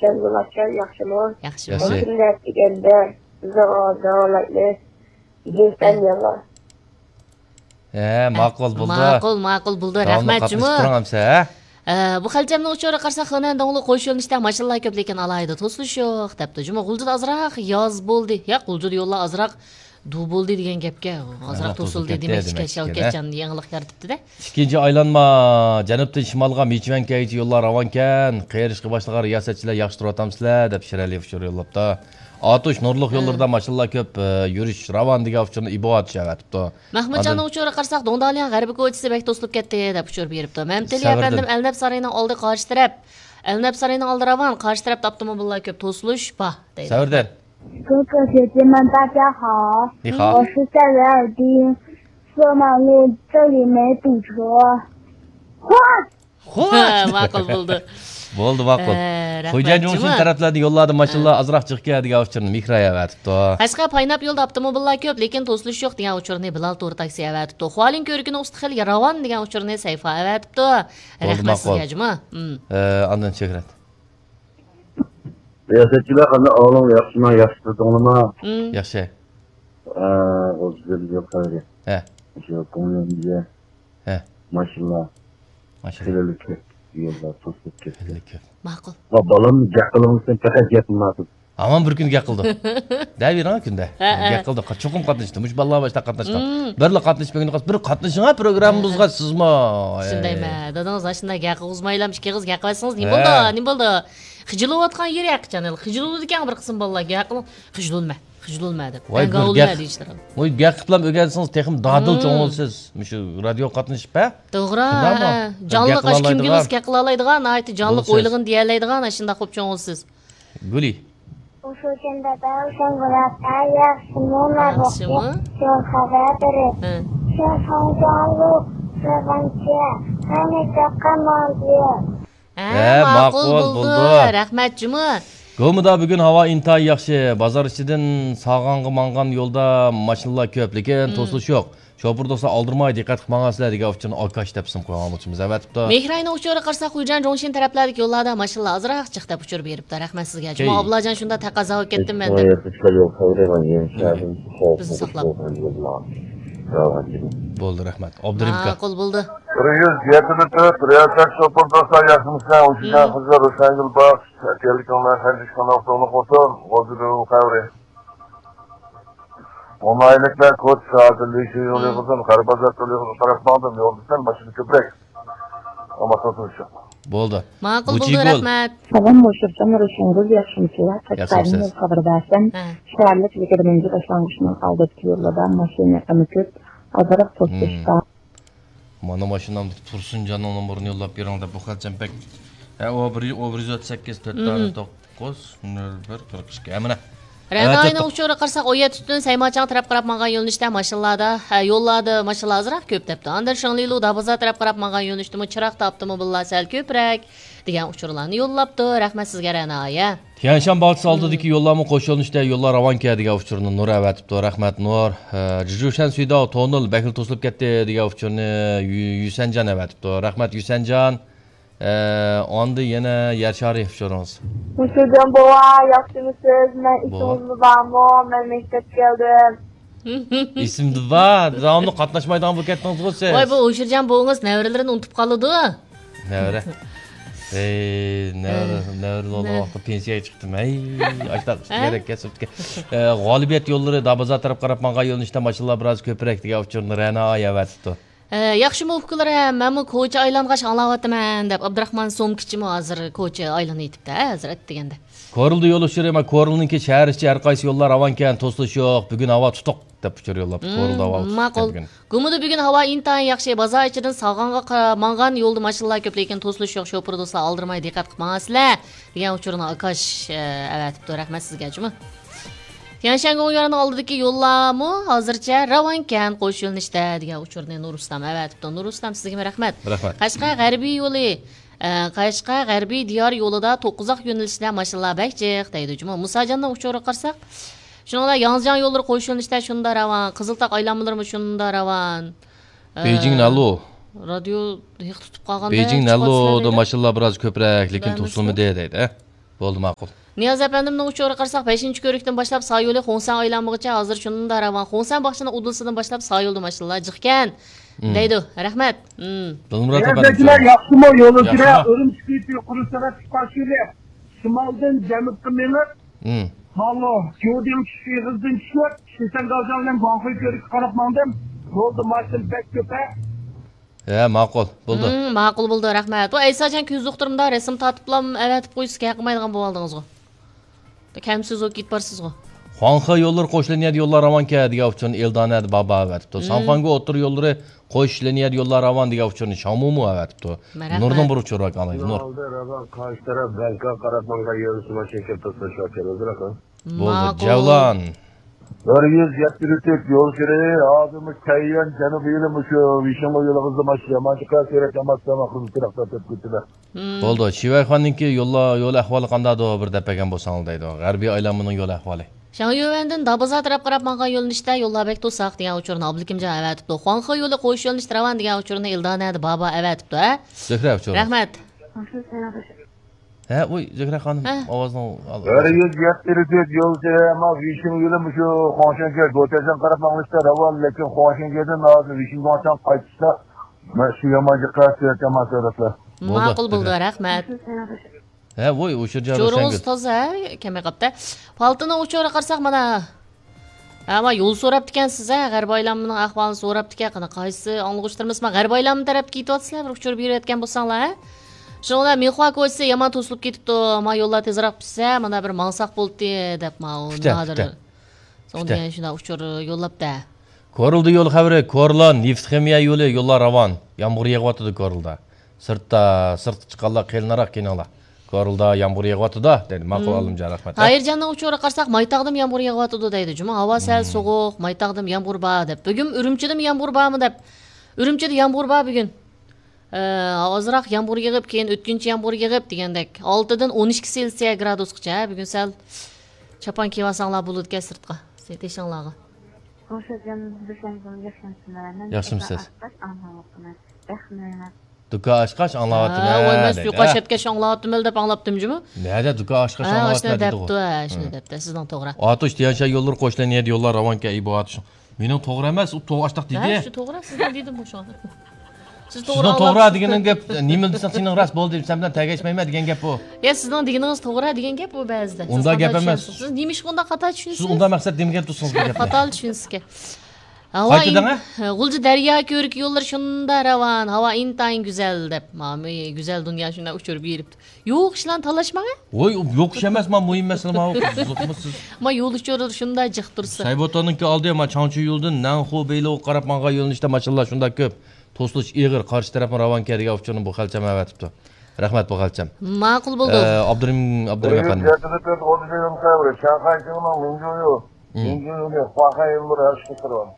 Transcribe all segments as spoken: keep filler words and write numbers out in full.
ياخشىمۇ؟ ياخشى. ماشىنا دېگەندە بىزنىڭ ئالدىغا لايكنى بېسىڭلار. ھە، ماقۇل بولدى. ماقۇل، ماقۇل بولدى. داۋاملىق رەھمەت، جۇمۇ. قاتنىشىپ تۇرۇڭ ئەمسە، ھە؟ ئە، بۇ خەلچەمنىڭ ئۇچۇرىغا قارىساق، خېنەندوڭلۇق قوش يۆنىلىشتە ماشىنىلار كۆپ، لېكىن ئالاھىدە توسۇلۇش يوق، دەپتۇ. جۇمۇ، غۇلجىدا ئازراق ياز بولدى. ياق، غۇلجىدا يوللار ئازراق دۇ بولدى دېگەن گەپكە، ئازراق توسۇلدى دېمەكچىكەن، شاۋكەتجان يېڭىلىق يارىتىپتۇ-دە. ئىككىنچى ئايلانما، جەنۇبتىن شىمالغا مىچۈەنكەيگىچە يوللار راۋانكەن، قېرىشقا باشلىغان رىياسەتچىلەر ياخشى تۇرۇۋاتامسىلەر، دەپ شىرئەلى ئۇچۇر يوللاپتۇ. ئاتۇش نۇرلۇق يوللىرىدا ماشىنىلار كۆپ، ئە، يۈرۈش راۋان دېگەن ئۇچۇرنى ئىبوئاتىش ئەۋەتىپتۇ. مەھمۇتجاننىڭ ئۇچۇرىغا قارىساق، دۇڭدالياڭ غەربىي كوچىسى بەك توسۇلۇپ كەتتى، دەپ ئۇچۇر بېرىپتۇ. مەمتىلى ئەپەندىم، ئەلنەپ سارىيىنىڭ ئالدى قارشى تەرەپ. ئەلنەپ سارىيىنىڭ ئالدى راۋان، قارشى تەرەپتە ئاپتوموبىللار كۆپ، توسۇلۇش بار، دەيدۇ. سەۋردار. 哥哥姐姐们，大家好。 نىخاۋ. 我是塞维尔丁，索马路这里没堵车。 خوش! ماقۇل بولدى. بولدى، ماقۇل. ئە، رەھمەت، خوجايىن جۇڭشىن جۇمۇ. تەرەپلەردە يوللاردا ماشىنىلار ئازراق جىقكەن دېگەن ئۇچۇرنى مېھراي ئەۋەتىپتۇ. قەشقەر پايناپ يولدا ئاپتوموبىللار كۆپ، لېكىن توسۇلۇش يوق دېگەن ئۇچۇرنى بىلال تور تاكسى ئەۋەتىپتۇ. خۇالىن كۆۋرۈكىنىڭ ئۈستى خېلى راۋان دېگەن ئۇچۇرنى سەيفا ئەۋەتىپتۇ. بولدى، رەھمەت ماقۇل. سىزگە، جۇمۇ. ئە، ئاندىن شۆھرەت. رىياسەتچىلەر قانداق ئەھۋالىڭلار، ياخشىما، ياخشى تۇردۇڭلارمۇ؟ ياخشى. ئە، غۇلجىدىن يول خەۋىرى. ھە. شۇ كۆڭلۈمگە ھە. ماشىنىلار ماشىنا. خېلىلا كۆپ، يوللار توسۇلۇپ كەتتى. خېلىلا كۆپ. ماقۇل. ۋە بالام گەپ قىلىۋالسۇن، پەقەت گەپ قىلمايسىز. ھامان بىر كۈن گەپ قىلدى. دەۋېرىڭ كۈندە. ھە، ھە. گەپ قىلدى. چوقۇم قاتنىشتى. مۇشۇ بالىلار باشتا قاتناشقان. مم. بىرلا قاتنىشىپ بەرگىنى قالسا، بىر قاتنىشىڭ پروگراممىمىزغا سىزمۇ. شۇندايمۇ؟ دادىڭىز ئاشۇنداق گەپ قىلغۇزمايلا، ئىككى قىز گەپ قىلىۋەتسىڭىز، نېمە بولدى؟ ھە. نېمە بولدى؟ خىجىل بولۇۋاتقان يېرى ھەقىچان. خىجىل بولىدىكەن بىر قىسىم بالىلار. گەپ قىلىڭ. خىجىل بولما. خىجىل بولما دەپ. ۋاي، بىر گەپ، ۋاي، گەپ قىلىپ ئۆگەنسىڭىز تېخىمۇ دادىل چوڭ بولىسىز. مۇشۇ رادىيوغا قاتنىشىپ، ھە؟ توغرا، شۇنداقمۇ؟ ھە. جانلىق، ئاشۇ كىم كېلىسە گەپ قىلالايدىغان، ناھايىتى جانلىق ئويلىغىنى دېيەلەيدىغان، ئاشۇنداق بولۇپ چوڭ بولىسىز. گۈلى. ئۇشۇ كۈندە بەلكىم بۇلار ياخشىمۇ، ياخشىمۇ؟ يول خەۋەر بېرىپ. ھە. شىنخاڭجياڭلۇق سەۋەنچە، ھەممە چاققان ماڭدى. ھە، ھە، ماقۇل، ماقۇل، بولدى. بولدى. رەھمەت، جۇمۇ. گومىدا بۈگۈن ھاۋا ئىنتايىن ياخشى. بازار ئىچىدىن ساغانغا ماڭغان يولدا ماشىنىلار كۆپ، لېكىن توسۇلۇش يوق. شوپۇر دوستلار، ئالدىرىماي دىققەت قىلىپ ماڭغانسىلەر دېگەن ئۇچۇرنى ئاكاش دەپ ئىسىم قويغان ئۇچۇرىمىز ئەۋەتىپتۇ. مېھراينىڭ ئۇچۇرىغا قارىساق، خۇيجەن جۇڭشىن تەرەپلەردىكى يوللاردا ماشىنىلار ئازراق جىق دەپ ئۇچۇر بېرىپتۇ. رەھمەت سىزگە. جۇما ئابلاجان شۇنداق تەقەززا بولۇپ كەتتىم مەن. بىزنى ساقلاپ. بولدى، رەھمەت. ئابدۇرېھىم ئاكا. ماقۇل بولدى. بىر يۈز يەتتە مېتىر، رىياسەت شوپۇر دوستلار ياخشىمىسىلەر؟ ئۇششان قىزلار، روشەنگۈل باخش، ئەتىيەللىك كۆڭلەر، خەنجىش قانال، تولۇق بولسۇن، غۇلجىدىن خەۋىرى. ئونايلىكلار كوچا سائەتىدە لىشۇ يولى قىزىم، قەرە بازار يولى قىزىم، تەرەپ ماڭدىم، يولدا سەل ماشىنا كۆپرەك. ئەمما توسۇلۇش يوق. بولدى. ماقۇل بولدى، رەھمەت. سالام، مۇشۇرجان روشەنگۈل، ياخشىمۇسىلەر؟ قەشقەرنىڭ يول خەۋىرى بەرسەم، شەھەرلىك يىگىرمىنچى باشلانغۇچنىڭ ئالدىدىكى يوللاردا ماشىنا ئېقىمى كۆپ، ئازراق توسۇلۇش بار. مانا ماشىنامدا تۇرسۇنجاننىڭ نومۇرىنى يوللاپ بېرىڭ دەپ، بۇ خەلچەم بەك. ھە، ئۇ بىر، ئۇ بىر يۈز ئوتتۇز سەككىز، تۆت دانە، توققۇز، نۆل بىر، قىرىق ئىككى. ھە، مانا. رەنايىنىڭ ئۇچۇرىغا قارىساق، ئون يەتتە تۈن سەيماچاڭ تەرەپ قاراپ ماڭغان يۆنىلىشتە ماشىنىلاردا، ھە، يوللاردا ماشىنىلار ئازراق كۆپ دەپتۇ. ئاندىن شېڭلىلۇ دابازار تەرەپ قاراپ ماڭغان يۆنىلىشتىمۇ چىراغدا ئاپتوموبىللار سەل كۆپرەك دېگەن ئۇچۇرلارنى يوللاپتۇ. رەھمەت سىزگە، رەنا ئايە. تيەنشان باغچىسى ئالدىدىكى يوللارمۇ قوش يۆنىلىشتە يوللار راۋانكەن دېگەن ئۇچۇرنى نۇر ئەۋەتىپتۇ. رەھمەت، نۇر. ھە، جىجۇشەن سۈيداۋ تونېل بەكلا توسۇلۇپ كەتتى دېگەن ئۇچۇرنى يۈ-، يۈسەنجان ئەۋەتىپتۇ. رەھمەت، يۈسەنجان. ئە، ئاندىن يەنە يەر شارى ئۇچۇرىڭىز. مۇشۇرجان بوۋا، ياخشىمۇسىز؟ مەن بوۋا. ئېسىڭىزدە بارمۇ؟ مەن مەكتەپكە كەلدىم. ئېسىمدە بار. داۋاملىق قاتناشمايدىغان بولۇپ كەتتىڭىزغۇ سىز. ۋاي، بۇ ئۇشۇرجان بوۋىڭىز نەۋرىلىرىنى ئۇنتۇپ قالىدۇ. نەۋرە. ئەي، نەۋرە، ئە، نەۋرە بولغان ۋاقىتتا پېنسىيەگە چىقتىم. ھەي، ئاشتاق ئە؟ كېرەك كەسىپتىكەن. ئە، غالىبىيەت يوللىرى دابازار تەرەپ قاراپ ماڭغان يۆنىلىشتە ماشىنىلار بىراز كۆپرەك دېگەن ئۇچۇرنى رەنا ئايە ئەۋەتىپتۇ. ئە، ياخشىمۇ ئۇكىلىرى، مەنمۇ كوچا ئايلانغاچ ئاڭلاۋاتىمەن دەپ، ئابدۇراخمان سومكىچىمۇ ھازىر كوچا ئايلىنىۋېتىپتۇ، ھە، ھەزرەت دېگەندە. كورلىدا يول ئۇچۇرى، ما، كورلىنىڭكى شەھەر ئىچى ھەر قايسى يوللار راۋانكەن، توسۇلۇش يوق، بۈگۈن ھاۋا تۇتۇق دەپ ئۇچۇر يوللاپتۇ. مم، كورلىدا ھاۋا تۇتۇق ماقۇل. بۈگۈن. گۇمىدا بۈگۈن ھاۋا ئىنتايىن ياخشى، بازار ئىچىدىن ساغانغا قا-، ماڭغان يولدا ماشىنىلار كۆپ، لېكىن توسۇلۇش يوق، شوپۇر دوستلار ئالدىرىماي دىققەت قىلىپ ماڭاسىلەر دېگەن ئۇچۇرنى ئاكاش، ئە، ئەۋەتىپتۇ، رەھمەت سىزگە جۇمۇ. تيەنشەن گوڭيۈەننىڭ ئالدىدىكى يوللارمۇ ھازىرچە راۋانكەن، قوش يۆنىلىشتە دېگەن ئۇچۇرنى نۇرۇسلام ئەۋەتىپتۇ. نۇرۇسلام، سىزگىمۇ رەھمەت. رەھمەت. قەشقەر غەربىي يولى، ئە، قەشقەر غەربىي دىيار يولىدا توققۇزاق يۆنىلىشىدە ماشىنىلار بەك جىق دەيدۇ جۇمۇ. مۇساجاننىڭ ئۇچۇرىغا قارىساق، شۇنىڭ بىلەن ياڭزىجياڭ يوللىرى قوش يۆنىلىشىدە شۇنداق راۋان، قىزىلتاغ ئايلانمىلىرىمۇ شۇنداق راۋان. ئە، بېيجىڭ نەلۇ. رادىيو ھېق تۇتۇپ قالغاندەك. بېيجىڭ نەلۇدا ماشىنىلار بىراز كۆپرەك، لېكىن توسۇلمىدى دەيدۇ. بولدى، ماقۇل. نىياز ئەپەندىمنىڭ ئۇچۇرىغا قارىساق، بەشىنچى كۆۋرۈكتىن باشلاپ سايولى خۇڭسەن ئايلانمىغىچە ھازىر شۇنداق راۋان. خۇڭسەن باغچىنىڭ ئۇدۇلىسىدىن باشلاپ سايولدا ماشىنىلار جىقكەن، مم. دەيدۇ. رەھمەت. مم. دىلمۇرات ئەپەندىم، ياخشىمۇ يولۇچىلار؟ ياخشىما. ئۈرۈمچى كېچە قۇرۇق سەۋەب چىققان شىلى شىمالدىن جەنۇبقا مېڭىپ، مم. مالو، جودىڭ چۈش ئېغىزىدىن چۈشۈپ، شىسەنگاۋزاڭ بىلەن گۇاڭخۇي كۆۋرۈككە قاراپ ماڭدىم. يولدا ماشىنا بەك كۆپ ھە. ھە، ماقۇل، بولدى. ھىم، ماقۇل بولدى، رەھمەت. ۋە ئەيساجان كۆز دوختۇرۇمدا رەسىم تارتىپلا ئەۋەتىپ قويسا كەلمەيدىغان بولۇۋالدىڭىزغۇ. كەمسىز بولۇپ كېتىپ بارسىزغۇ. خۇاڭخې يوللىرى قوش لىنىيەدە يوللار راۋانكەن دېگەن ئۇچۇرنى ئېلدانەدە بابا ئەۋەتىپتۇ. ھىم. سانفاڭگو ئوتتۇرا يوللىرى قوش لىنىيەدە يوللار راۋان دېگەن ئۇچۇرنى شاڭمۇمۇ ئەۋەتىپتۇ. رەھمەت. نۇردىن بىر ئۇچۇر بار، ئاڭلايلى، نۇر. ئالدى راۋان قارشى تەرەپ بەنكاغا قاراپ ماڭغان يول شىمال شېكىل تۇتۇش ۋەكىل ئۆزرەك. بولدى، ماقۇل. جەۋلان. بىر يۈز يەتتە تۆت يول كىرى، ھازىرمۇ كەييۈەن جەنۇبىي يولى مۇشۇ ۋىشىڭلۇ يولىغا زىماش يامان چىقار، سېرىق يامان سامان خىزمىتى رەختەر تۆپ كېتىدۇ. ھىم. بولدى، شىۋەيخاننىڭكى يوللا-، يول ئەھۋالى قانداقدۇ؟ بىر دەپ بەرگەن بولساڭلار دەيدۇ. غەربىي ئايلانمىنىڭ يول ئەھۋالى. شياڭيۈەنۋەندىن دابازار تەرەپ قاراپ ماڭغان يۆنىلىشتە يوللار بەك توساق دېگەن ئۇچۇرنى ئابلىكىمجان ئەۋەتىپتۇ. خۇاڭخې يولى قويۇش يۆنىلىشىدە راۋان دېگەن ئۇچۇرنى ئىلدانەدە بابا ئەۋەتىپتۇ، ھە؟ زۆھرە ئۇچۇرى. رەھمەت. ھە، ئۇي، زۆھرە خانىم، ھە. ئاۋازنىڭ ئال-، بىر يۈز يەتتە تۆت يول سېرىما ۋىشىڭ يولى مۇشۇ خۇاڭشەنگە، گوتەجەن قاراپ ماڭلىشتا راۋان، لېكىن خۇاڭشەنگەدىن ھازىر ۋىشىڭگاڭچاڭ قايتىشتا مانا شۇ يامان جىق قەسىيەت يامان سۆرەتلەر. بولدى، ماقۇل بولدى، زۆھرە. رەھمەت. ھە، ۋوي، ئۇچۇر جارى جورىڭىز تازا، ھە، كەلمەي قاپتۇ. پالتىنىڭ ئۇچۇرىغا قارىساق، مانا، ھە، ما يول سوراپتىكەنسىز، ھە، غەربىي ئايلانمىنىڭ ئەھۋالىنى سوراپتىكەن. قېنى، قايسى ئاڭلىغۇچىلىرىمىز ما غەربىي ئايلانما تەرەپكە كېتىۋاتىسىلەر، بىر ئۇچۇر بېرىۋەتكەن بولساڭلار، ھە؟ شۇنىڭ بىلەن مىنخۇا كوچىسى يامان توسۇلۇپ كېتىپتۇ، ما يوللار تېزراق پۈتسە، مانا بىر ماڭساق بولدى، دەپ، ماۋۇ پۈتە، نادىر. پۈتە. سوڭ پۈتە. دېگەن شۇنداق ئۇچۇر يوللاپتۇ. كورلىدا يول خەۋىرى، كورلا، نېفىت خىمىيە يولى، يوللار راۋان. يامغۇر يېغىۋاتىدۇ كورلىدا. سىرتتا، سىرتقا چىققانلار قېلىنراق كېلىڭلار. كورلىدا يامغۇر يېغىۋاتىدۇ، دېدى. ماقۇل، مم. ئالىمجان، رەھمەت. تاھىرجاننىڭ ئۇچۇرىغا قارىساق، مايتاغدىمۇ يامغۇر يېغىۋاتىدۇ دەيدۇ. جۇمۇ ھاۋا سەل مم. سوغۇق، مايتاغدىمۇ يامغۇر بار دەپ. بۈگۈن ئۈرۈمچىدىمۇ يامغۇر بارمۇ دەپ. ئۈرۈمچىدە يامغۇر بار بۈگۈن. ئە، ئازراق يامغۇر يېغىپ، كېيىن ئۆتكۈنچى يامغۇر يېغىپ دېگەندەك. ئالتىدىن ئون ئىككى سېلسىيە گرادۇسقىچە. بۈگۈن سەل چاپان كىيىۋالساڭلار بولىدىكەن سىرتقا. تېشىڭلارغا. ياخشىمۇسىز؟ دۇكان ئاچقاچ ئاڭلاۋاتىمەن، ھە، ۋاي، مەن دەيدۇ، سۇيۇقئاش ھە. ئەتكەچ ئاڭلاۋاتىمەن دەپ ئاڭلاپتىم جۇمۇ. نەدە دۇكان ئاچقاچ ھە، ئاڭلاۋاتىمەن ئاشۇنى دەپتۇ، ھە، ئاشۇنى دەپتۇ. سىزنىڭ توغرا. ئاتۇش تيەنشەن يوللىرى قوشلىنىدۇ، يوللار راۋانكەن ئىبو ئاتۇشنىڭ. مېنىڭ توغرا ئەمەس، ئۇ توغرا ئاشتاق دېدى. ھە، شۇ توغرا، سىزنىڭ دېدىم بۇ شۇڭا. سىز توغرا سىزنىڭ توغرا ئاڭلاپسىز. دېگىنىڭ گەپ، نېمە دېسەڭ سېنىڭ راست بولدى، سەن بىلەن تەگەشمەيمەن دېگەن گەپ بۇ. يا، سىزنىڭ دېگىنىڭىز توغرا دېگەن گەپ بۇ بەزىدە. سىز ئۇنداق گەپ ئەمەس. سىز نېمىشقا ئۇنداق خاتا چۈشىنىسىز؟ سىز ئۇنداق مەقسەت دېمىگەن تۇرسىڭىز بۇ گەپنى. خاتا چۈشىنىسىزكەن. ھاۋا قايتا دەڭە. غۇلجا دەريا كۆۋرۈكى يوللىرى شۇنداق راۋان، ھاۋا ئىنتايىن گۈزەل دەپ، مانا گۈزەل دۇنيا شۇنداق ئۇچۇر بېرىپتۇ. يوق ئىشلارنى تالاشماڭ ھە. ۋوي، يوق ئىش ئەمەس، ما مۇھىم مەسىلە، ما قىزىقمۇ سىز؟ ما يول ئۇچۇرلىرى شۇنداق جىق تۇرسا. سەيبوتاننىڭكى ئالدى، ما چاڭچۇ يولىدىن نەنخۇ بېيلوغا قاراپ ماڭغان يۆنىلىشتە ماشىنىلار شۇنداق كۆپ. توسۇلۇش ئېغىر، قارشى تەرەپمۇ راۋانكەن دېگەن ئۇچۇرنى بۇ خەلچەم ئەۋەتىپتۇ. رەھمەت بۇ خەلچەم. ماقۇل بولدى. ئە، ئابدۇرېھىم، ئابدۇرېھىم ئەپەندىم. شاڭخەي شىڭنىڭ مىڭجۇيۇ، مم. مىڭجۇيۇ، خۇاخەي يوللىرى ھەر ئىككى تەرەپ.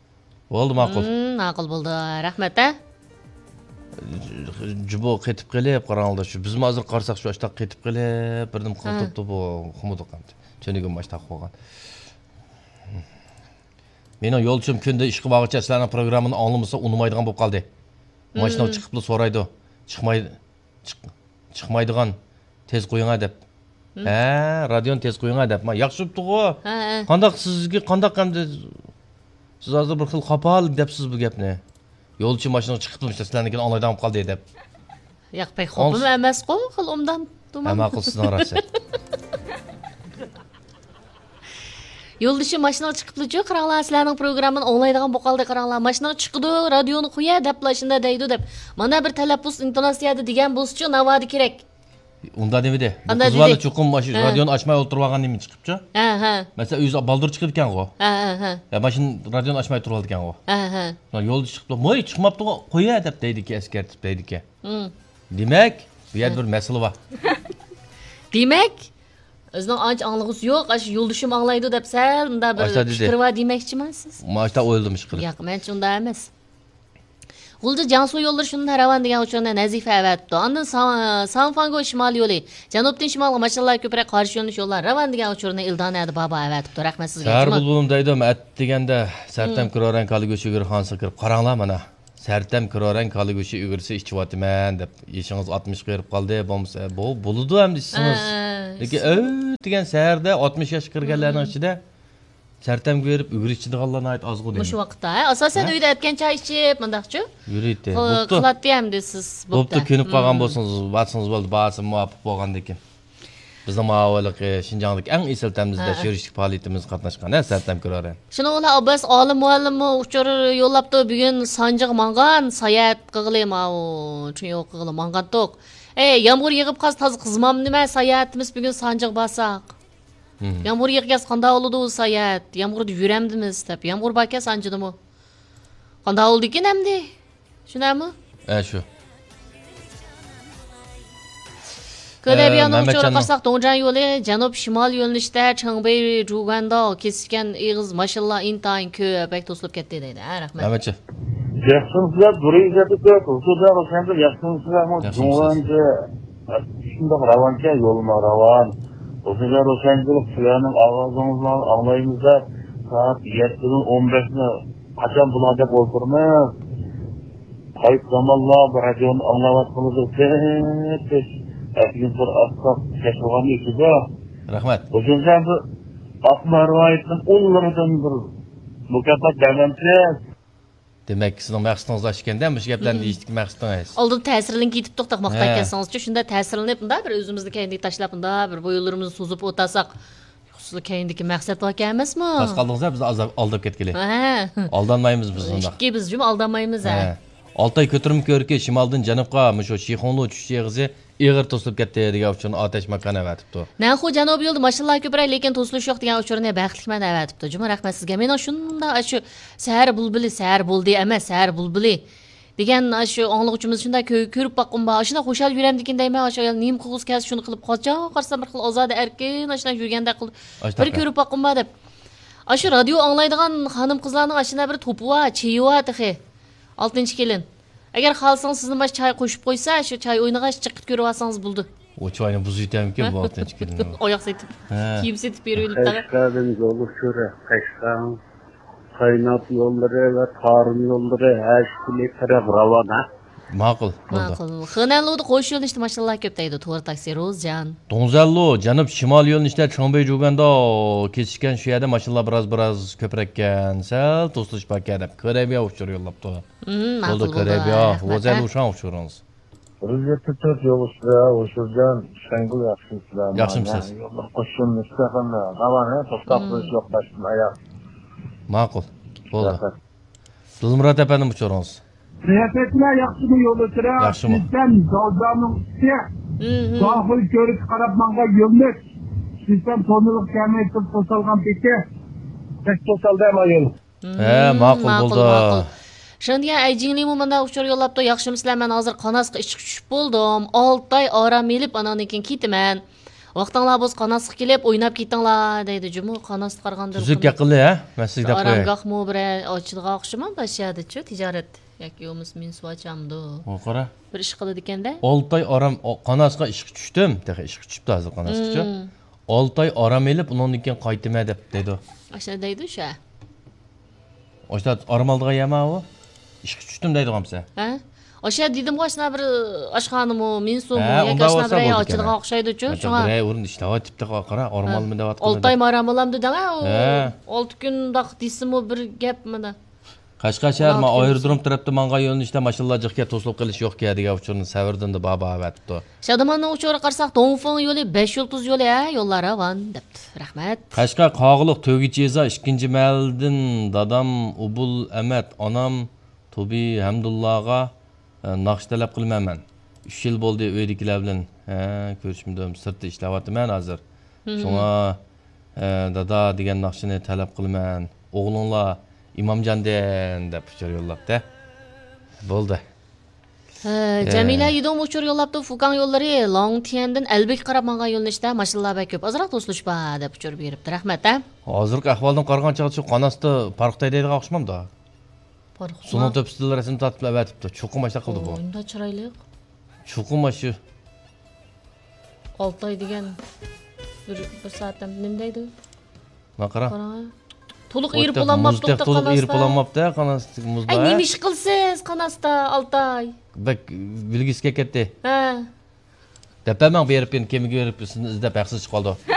بولدى، ماقۇل. مم، ماقۇل بولدى. رەھمەت ھە. جۇبو قېتىپ قېلىپ، قاراڭلار، شۇ بىزمۇ ھازىر قارىساق، شۇ ئاشتاق قېتىپ قېلىپ، بىردىن ھە. قالتۇرۇپتۇ بۇ قۇمۇدۇق ئەمدى. تۈنۈگۈن ماشتاق بولغان. مېنىڭ يولدىشىم كۈندە ئىشقا بارغۇچە سىلەرنىڭ پروگراممىنى ئاڭلىمىسا ئۇنىمايدىغان بولۇپ قالدى. ماشىنىغا چىقىپلا سورايدۇ. چىقماي، چىق-، چىقمايدىغان، تېز قويۇڭا دەپ. ھە، رادىيونى تېز قويۇڭا دەپ. ما، ياخشى بوپتۇغۇ. ھە، ھە. قانداق سىزگە، قانداق ئەمدى سىز ھازىر بىر خىل قاپال دەپسىز بۇ گەپنى. يولچى ماشىنىغا چىقىپلا مۇشۇ سىلەرنىڭكىنى ئاڭلايدىغان بولۇپ قالدى دەپ. ياق، بەك خوپمۇ ئەمەسقۇ، خېلى ئوبدان. ھە، ماقۇل، سىزنىڭ راستى. يولدىشى ماشىنىغا چىقىپلىچۇ، قاراڭلار، سىلەرنىڭ پروگراممىنى ئاڭلايدىغان بولۇپ قالدى، قاراڭلار، ماشىنىغا چىقىدۇ، رادىيونى قويە دەپلا شۇنداق دەيدۇ دەپ. مانا بىر تەلەپپۇز ئىنتوناتسىيەدە دېگەن بولسىچۇ، ناۋادا كېرەك. ئۇنداق دېمىدى. بۇ قىز بالا چوقۇم ماشىنا، ھە. رادىيونى ئاچماي ئولتۇرۇۋالغان نېمە چىقىپچۇ؟ ھە، ھە. مەسىلەن، ئۆزى بالدۇر چىقىدىكەنغۇ. ھە، ھە، ھە. يا ماشىنا رادىيونى ئاچماي تۇرۇۋالىدىكەنغۇ. ھە، ھە. يولدا چىقىپلا، ۋوي، چىقماپتىغۇ، قويە دەپ دەيدىكەن، ئەسكەرتىپ دەيدىكەن. دېمەك، بۇ يەردە بىر مەسىلە بار. دېمەك، ئۆزىنىڭ ئانچە ئاڭلىغۇسى يوق، ئاشۇ يولدىشىم ئاڭلايدۇ دەپ سەل مۇنداق بىر پىكرى بار دېمەكچىمۇ سىز؟ ماشتا ئويلىدىم ئىشقىلىپ. ياق، مەنچە ئۇنداق ئەمەس. غۇلجا جياڭسۇ يوللىرى شۇنداق راۋان دېگەن ئۇچۇرنى نەزىفە ئەۋەتىپتۇ. ئاندىن سان-، سانفاڭگو شىمالىي يولى، جەنۇبتىن شىمالغا ماشىنىلار كۆپرەك قارشى يۆنىلىش يوللار راۋان دېگەن ئۇچۇرنى ئىلدانەدە بابا ئەۋەتىپتۇ. رەھمەت سىزگە. سەھەر بۇلبۇلۇم دەيدۇ، ئەتىگەندە سەرتەم كىرورەن كالا گۆشى ئۈگرە خانىسىغا كىرىپ قاراڭلار مانا. سەرتەم كىرورەن كالا گۆشى ئۈگرىسى ئىچىۋاتىمەن دەپ، يېشىڭىز ئاتمىشقا بېرىپ قالدى، بولمىسا، بۇ، بولىدۇ ئەمدى ئىچسىڭىز. ھە، ھە. لېكىن ئەتىگەن سەھەردە ئاتمىش ياشقا كىرگەنلەرنىڭ ئىچىدە سەرتەمگە بېرىپ ئۈگرە ئىچىدىغانلار ناھايىتى ئازغۇ دەيمەن. مۇشۇ ۋاقىتتا، ھە؟ ئاساسەن ھە؟ ئۆيدە ئەتكەن چاي ئىچىپ، مۇنداقچۇ؟ يۈرىدۇ. خو-، بوپتۇ. قىلاتتى ئەمدى سىز. بوپتۇ، بوپتۇ. كۆنۈپ قالغان مم. بولسىڭىز، بارسىڭىز بولدى، بارسا مۇۋاپىق بولغاندىكىن. بىزنىڭ ماۋۇ ھېلىقى شىنجاڭدىكى ئەڭ ئېسىل تەمىزلەش ھە. يۈرۈشلۈك پائالىيىتىمىزگە قاتناشقان، ھە، سەرتەم كۆرەر. شۇنىڭ بىلەن ئابباس ئالىم مۇئەللىممۇ ئۇچۇر يوللاپتۇ، بۈگۈن سانجىغا ماڭغان، ساياھەت قىلغىلى ماۋۇ، چۈنيو قىلغىلى ماڭغانتۇق. ئەي، يامغۇر يېغىپ قالسا تازا قىزمامدۇ نېمە، ساياھىتىمىز بۈگۈن سانجىغا بارساق. مم. يامغۇر يېغىپ كەلسە قانداق بولىدۇ ساياھەت؟ يامغۇردا يۈرەمدىمىز دەپ. يامغۇر باركەن سانجىدىمۇ. قانداق بولىدىكىن ئەمدى؟ شۇنداقمۇ؟ ئە، شۇ. كۆلەبىيانىڭ ئۇچۇرىغا قارىساق، دۇڭجيەن يولى جەنۇب شىمال يۆنىلىشتە چېڭبېي جۇگەنداۋ كېسىشكەن ئېغىز ماشىنىلار ئىنتايىن كۆپ، بەك توسۇلۇپ كەتتى دەيدۇ. ھە، رەھمەت. مەمەتجان. ياخشىمۇسىلەر، دۇرۇي ئىززەتلىك، ھۇزۇردا ھۈسەنگۈل ياخشىمۇسىلەرمۇ؟ ياخشىمۇسىز. جۇڭغەنچە شۇنداق راۋانكەن، يولمۇ راۋان. ھۇزۇردا ھۈسەنگۈل، سىلەرنىڭ ئاۋازىڭىزنى ئاڭلايمىز دەپ سائەت يەتتىدىن ئون بەشنى قاچان بۇلار دەپ ئولتۇرىمىز. قايسى زامانلار بۇ رادىيونى ئاڭلاۋاتقىنىمىزدا تېخىچە ئەتىگىن تۇر ئاتساق كەچ بولغان ئىكىدۇ. رەھمەت. بۇ كۈنسەن بىر ئاقما رىۋايەتنىڭ ئۇللىرىدىن بىر مۇكاپات بەرمەمسىز؟ دېمەك، سىزنىڭ مەقسىتىڭىز ئاشۇ ئىكەندە، مۇشۇ گەپلەرنى مم. دېيىشتىكى مەقسىتىڭىز. ئالدىن تەسىرلىنىپ كېتىپتۇق، تاق ماختاپ ھە. كەلسىڭىزچۇ، شۇنداق تەسىرلىنىپ، مۇنداق بىر ئۆزىمىزنى كەينىگە تاشلاپ، مۇنداق بىر بويۇنلىرىمىزنى سوزۇپ ئولتۇرساق، سىزلا كەينىدىكى مەقسەت باركەن ئەمەسمۇ؟ تاس قالدىڭىز ھە، بىز ئازاب-، ئالداپ كەتكىلى. ھە. ئالدانمايمىز بىز ئۇنداق. ئىككى بىز جۇمۇ ئالدانمايمىز ھە. ھە. ئالتاي كۆتۈرمە كۆۋرۈكى شىمالدىن جەنۇبقا مۇشۇ شىخۇڭلۇ چۈشۈش ئېغىزى ئېغىر توسۇلۇپ كەتتى دېگەن ئۇچۇرنى ئاتەش ماكان ئەۋەتىپتۇ. نەنخۇ جەنۇبىي يولدا ماشىنىلار كۆپرەك، لېكىن توسۇلۇش يوق دېگەن ئۇچۇرنى بەختلىكمەن ئەۋەتىپتۇ. جۇمۇ رەھمەت سىزگە. مېنىڭ شۇنداق ئاشۇ سەھەر بۇلبۇلى، سەھەر بولدى ئەمەس، سەھەر بۇلبۇلى دېگەن ئاشۇ ئاڭلىغۇچىمىز شۇنداق كۆ-، كۆرۈپ باققۇم بار. ئاشۇنداق خۇشال يۈرەمدىكىن دەيمەن، ئاشۇ ئايال نېمە قىلغۇسى كەلسە شۇنى قىلىپ قاچا قارىسام بىر خىل ئازادە ئەركىن ئاشۇنداق يۈرگەندەك قىلىپ بىر كۆرۈپ باققۇم بار دەپ. ئاشۇ رادىيو ئاڭلايدىغان خانىم-قىزلارنىڭ ئاشۇنداق بىر توپى بار، چېيى بار تېخى. ئالتىنچى كېلىن. ئەگەر خالىسىڭىز سىزنى ماش چاي قوشۇپ قويسا، شۇ چاي ئوينىغاچ جىققىت كۆرۈۋالسىڭىز بولىدۇ. ئۇ چاينى بۇزۇۋېتەمكىن بۇ ئالتىنچى كېلىن. ئاياق سېتىپ، ھە. كىيىم سېتىپ بېرىۋېلىپ تاغا. قەشقەردىن يول ئۇچۇرى، قەشقەر، قاينات يوللىرى ۋە تارىم يوللىرى ھەر ئىككى تەرەپ راۋان، ھە؟ ماقۇل، بولدى. ماقۇل. خېنەنلۇدا قوش يۆنىلىشتە ماشىنىلار كۆپ دەيدۇ، تور تاكسى، روزجان. دۇڭزەنلۇ، جەنۇب شىمال يۆنىلىشتە چوڭبېي جۇگەنداۋ كېسىشكەن، شۇ يەردە ماشىنىلار بىراز، بىراز كۆپرەككەن، سەل توسۇلۇش باركەن دەپ، كۆرەبىيا ئۇچۇر يوللاپتۇ. مم، ماقۇل، بولدى، بولدى. كۆرەبىيا. رەھمەت، ۋوزەن ھە؟ لۇشاڭ ئۇچۇرىڭىز. بىر يۈز يەتتە تۆت يول ئۈستىدە ھوشۇرجان، شەڭگۈل ياخشىمۇسىلەر؟ ياخشىمۇسىز؟ يوللار قوشۇلمىسى يېقىندا. راۋان، ھە؟ توختاپ مم. تۇرۇش يوق، باشتىن ئاياغ. ماقۇل، بولدى. رەھمەت. دىلمۇرات ئەپەندىم، ئۇچۇرىڭىز. سىياسەتچىلەر ياخشىمۇ يول ئۆتىرە؟ ياخشىمۇ؟ سىزدىن دالدانىڭ ئۈستى. مم، مم. داخىل كۆرۈك قاراپ ماڭغان يۆنىلىش. سىزدىن تونۇلۇق كەلمەي تۇرۇپ توسالغان پېتى. بەك توسالدى ئەمما يول. ھە، مم، ماقۇل، ماقۇل، بولدى. ماقۇل. شېڭدىيەن ئەيجىڭلىمۇ مۇنداق ئۇچۇر يوللاپتۇ، ياخشىمۇسىلەر، مەن ھازىر قاناسقا ئىشقا چۈشۈپ بولدۇم. ئالتە ئاي ئارام ئېلىپ، ئاناندىن كېيىن كېتىمەن. ۋاقتىڭلار بولسا قاناسقا كېلىپ ئويناپ كېتىڭلار، دەيدۇ جۇمۇ. قاناستا قارىغاندا تۈزۈك گەپ قىلدى، ھە؟ مەن سىزگە دەپ قوياي. ئارامگاھمۇ بىرەر ئاچىدىغان ئوخشىمامدۇ ئاشۇ يەردىچۇ، تىجارەت ياكى بولمىسا مېنى سۇ ئاچامدۇ؟ ئۇ قارا. بىر ئىش قىلىدىكەندە. ئالتە ئاي ئارام، ئو، قاناسقا ئىشقا چۈشتۈم. تېخى ئىشقا چۈشۈپتۇ ھازىر قاناسقىچۇ. مم. ئالتە ئاي ئارام ئېلىپ، ئۇنىڭدىن كېيىن قايتىمەن دەپ دەيدۇ. ئاشۇنداق دەيدۇ شۇ. ئاشۇنداق ئارام ئالىدىغان يەرمۇ ئۇ؟ ئىشقا چۈشتۈم دەيدىغانمۇ سەن؟ ھە؟ ئاشۇ دېدىمغۇ، ئاشۇنداق بىر ئاشخانىمۇ، مىنسۇمۇ ھە، ياكى ئاشۇنداق بىر ئاي ئاچىدىغان ئوخشايدۇ-چۇ، شۇڭا. بىرەر ئورۇن ئىشلەۋاتىپتۇ، قارا، ئارام ئالىمەن دەۋاتقان. ئالتە ئاي مارام ئالامدۇ دەڭە، ئۇ ھە. ئالتە كۈن داق دېسىمۇ بىر گەپ مانا. قەشقەر شەھەر، ما، ئايرودروم تەرەپتە ماڭغان يۆنىلىشتە ماشىنىلار جىقكە توسۇلۇپ قېلىش يوقكەن دېگەن ئۇچۇرنى سەۋردىن بابا ئەۋەتىپتۇ. شادىماننىڭ ئۇچۇرىغا قارىساق، دۇڭفېڭ يولى بەش يۇلتۇز يولى، ھە، يوللار راۋان، دەپتۇ. رەھمەت. قەشقەر قاغىلىق تۆگىچى يېزا ئىككىنچى مەھەللىدىن دادام ئۇبۇل ئەمەت، ئانام تۇبى ھەمدۇللاغا، ئە، ناخشا تەلەپ قىلىمەن مەن. ئۈچ يىل بولدى ئۆيدىكىلەر بىلەن، ئە، كۆرۈشمىدىم. سىرتتا ئىشلەۋاتىمەن ھازىر. مم. شۇڭا، ئە، دادا دېگەن ناخشىنى تەلەپ قىلىمەن. ئوغلۇڭلار ئىمامجاندىن دەپ ئۇچۇر يوللاپتۇ. بولدى. ھە، ئە. جەمىلە يىدوم ئۇچۇر يوللاپتۇ. فۇكاڭ يوللىرى لوڭتيەندىن ئەلبىگە قاراپ ماڭغان يۆنىلىشتە ماشىنىلار بەك كۆپ. ئازراق توسۇلۇش بار دەپ ئۇچۇر بېرىپتۇ. رەھمەت، ھە. ھازىرقى ئەھۋالدىن قارىغان چاغدا شۇ قاناستا پارىختا ھەيدەيدىغان ئوخشىمامدۇ؟ پارىختا. سۇنىڭ تۆپىسىدىلا رەسىم تارتىپ ئەۋەتىپتۇ. چوقۇم ئاشۇنداق قىلدى بۇ. ئۇنداق چىرايلىق. چوقۇم ئاشۇ. ئالتاي دېگەن بىر، بىر سائەتتە نېمە دەيدۇ؟ مانا قارا. قاراڭا. تولۇق ئېرىپ بولالماپتۇ قاناستا. تولۇق ئېرىپ بولالماپتۇ قاناستا. مۇزدا، ئەي، ھە؟ نېمە ئىش قىلسىز قاناستا، ئالتاي؟ بەك بىلگۈسى كەتتى. ھە. دەپ بەرمەڭ، بېرىپ كېيىن كېمىگە بېرىپ سىزنى ئىزدەپ ھەقسىز چىقىپ قالىدۇ.